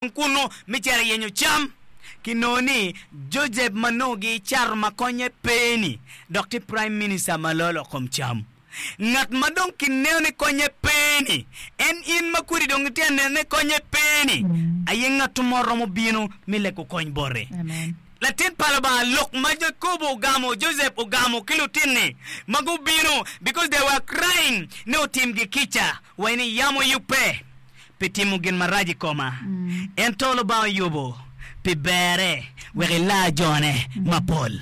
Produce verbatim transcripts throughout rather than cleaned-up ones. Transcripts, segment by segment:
Kunnu me cito i yenyo cam, kinongo ni Josep ma nongo gicato ma konye pe-ni dok tye Prime Minister ma loyo lok kom cam. Ngat ma dong kineno ni konye pe-ni, en in ma kodi dong itye ka neno ni konye pe-ni, aye ngat mo romo bino me lego kony boti. Latin pa Lubanga, lok ma Jakobo ogamo, Josep ogamo ki lutinni ma gubino because they were crying ni otimgi kica wa ni yam oyubbe pi timo gin marac i koma, ento Lubanga oyubo pi berre wek elar jone mapol.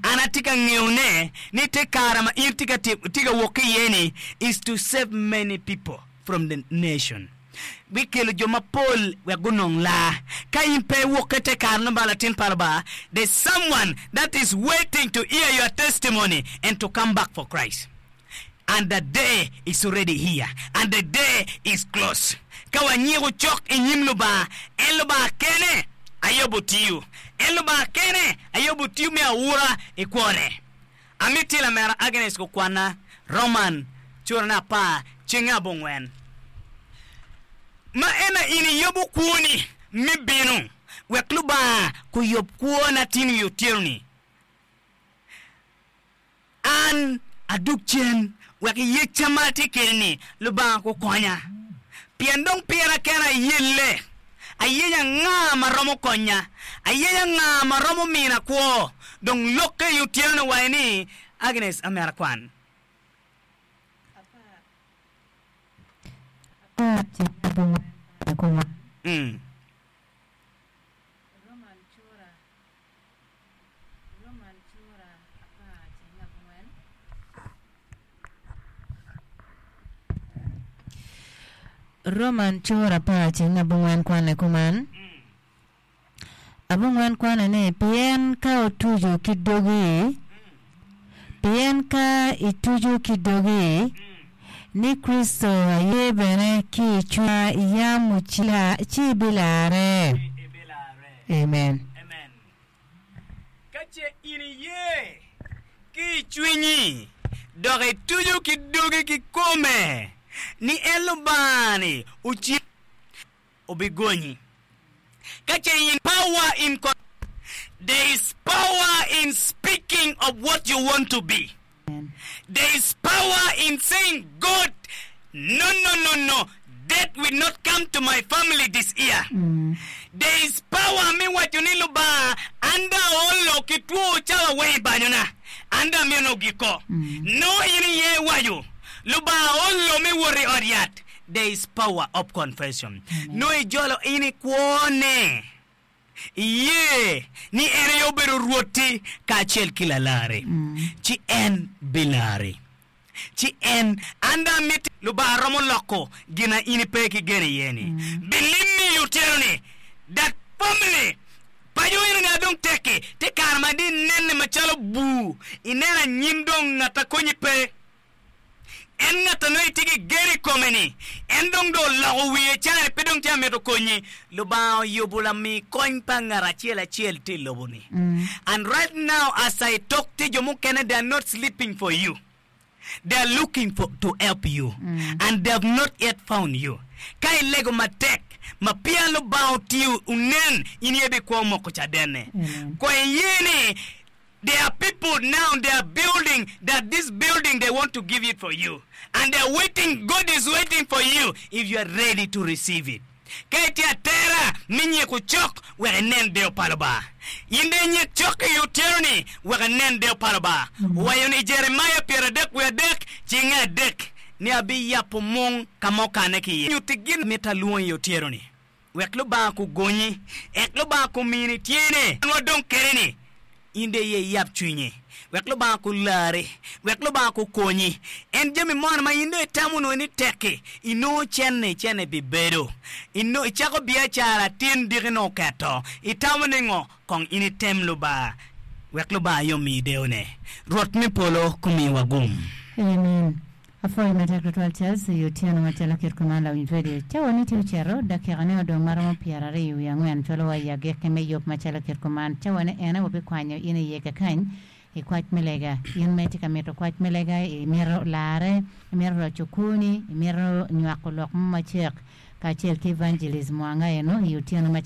An atye ka ngeyone ni te kare ma in tye ka wok ki iye-ni is to save many people from the nation. Bikelo jo mapol wek gunong lar. Ka in pe iwok ki te kare no ba latin pa Lubanga, there's someone that is waiting to hear your testimony and to come back for Christ. And the day is already here, and the day is close. Ka wanyiko cok i nyim Lubanga, en Lubanga kene aye obotiyo. En Lubanga kene aye obotiyo me aura i kwone. Amiti lamera Agnes gukwanna Roman curane apar cenge abongwen. Ma ena in iyubo kwoni me bino wek Lubanga kuyub kwona tin i otyeno-ni. An adug cen wek yecca ma atye kwede-ni Lubanga gukonya, pien dong pira kena ayelle. Ayenyo anga ma romo konya? Ayenyo anga ma romo mina kwo? Dong lokke i otyeno-ni owaco ni, Agnes, amera kwan. Mm. Roman cura apar ceng abongwen kwane kuman, Abongwen kwane ni, Pien ka otuco ki dogi, pien ka ituco ki dogi ni Kricito aye bene ki i cwinyi yam ocela, ci ibilarre. Amen. Ka ce in iye ki i cwinyi dok ituco ki dogi kikome ni en Lubanga-ni oceri, obigonyi. Ka ce in Power in There is power in speaking of what you want to be. There is power in saying God no no no no death will not come to my family this year. There is power me waco ni Lubanga an dong aolo ki two cawa weng i banyona an dong amito ni ogikko. Nongo in iye iwaco Lubanga aolo me wot i ot yat. There is power of confession. Nongo ijolo in i kwo ne. Iye ni en aye obedo Rwotti kacel ki Lalarri, ci en bilari. Ci en, an dong amiti. Lubanga romo loko gin a in ipe ki gen iye-ni. Bilimmi i otyeno-ni. That family, paco eno-ni a dong tekki, te kare ma di inenne macalo bur, ineno anyim dong ngat a konyi pe. En ngat a nongo itye ki gen i kome-ni, en dong dong oloko wiye cani pe dong tye ka mito konyi. Lubanga oyubo lami kony pa ngat acel acel tye i lobo-ni. And right now as I talk tye jo mukene they are not sleeping for you. They are looking for to help you and they have not yet found you. Ka ilego matek ma peya Lubanga otiyo onen, in aye ibikwo moko cadenne. Kong iye ni There are people now they are building that this building they want to give it for you and they are waiting God is waiting for you if you are ready to receive it. Ka itye atera me nyiko cok wek inen deyo pa Lubanga. In dong inyik cok i otyeno ni wek inen deyo pa Lubanga. Owaco ni i Jeremia pyeradek wiye adek cinge adek ni abiyabo mung ka ma okane ki iye. Nyutti gin mito alwongi i otyeno ni. Wek Lubanga kugonyi, ek Lubanga kumini tyene. An wadong kede-ni, in dong iye iyab cwinyi. Wek Lubanga kulari, wek Lubanga kukonyi. En jami moni ma in dong itamo onongo ni tek-ki, inongo cente, cente bibedo. Inongo icako biacara tin diki nongo oketo. Itamo ni ngo? Kong in item Lubanga, wek Lubanga aye omiyi deyone. Rwot me polo kumiwa gum. Amen. Apwoyo matek tutwal Charles i otyeno macalo kit kuman lawiny radio. Cawa ni tye ocito, dakika ne odong maromo pyeraryo wiye angwen cwalo wa i agikki me yub macalo kit kuman. Cawa ne ene wabikwanyo in iye kakany i kwac me lega. In ma itye ka mito kwac me lega, imito larre, imito roco kwoni, imito nywako lok mo macek, Kacel ki Evangelist Mwanga eno i otyeno ma